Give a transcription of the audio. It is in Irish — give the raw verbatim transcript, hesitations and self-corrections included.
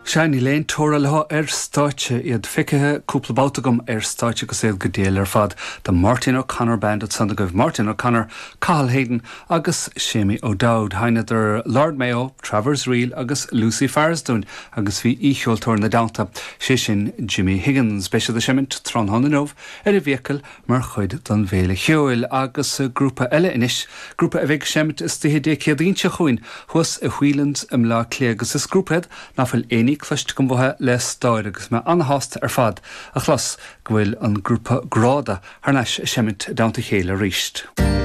Sea níl aon teora leo ar stáitse iad feicthe cúpla babhta agam ar stáitse agus iad go diail ar fad The Martin O'Connor Band ansan agaibh Martin O'Connor, Cathal Hayden agus Séamie O'Dowd Sheinneadar Lord Mayo, Travers Reel agus Lucy Farris dúinn agus bhí aoicheoltóir ina dteannta sé sin Jimmy Higgins beidh siad ag seimint tráthnóna inniu ar an bhFiacail mar chuid den bhFéile Cheoil agus grúpa eile anois, grúpa a bheidh ag seimint istoíche Dé Céadaoin seo chugainn thuas i Whelan's i mBleá Cliath agus is grúpa iad nach bhfuil éinní cloiste agam uathu le stair agus mé an-shásta ar fad a chlos go bhfuil an grúpa Gráda thar n-ais ag seimint i dteannta a chéile arís.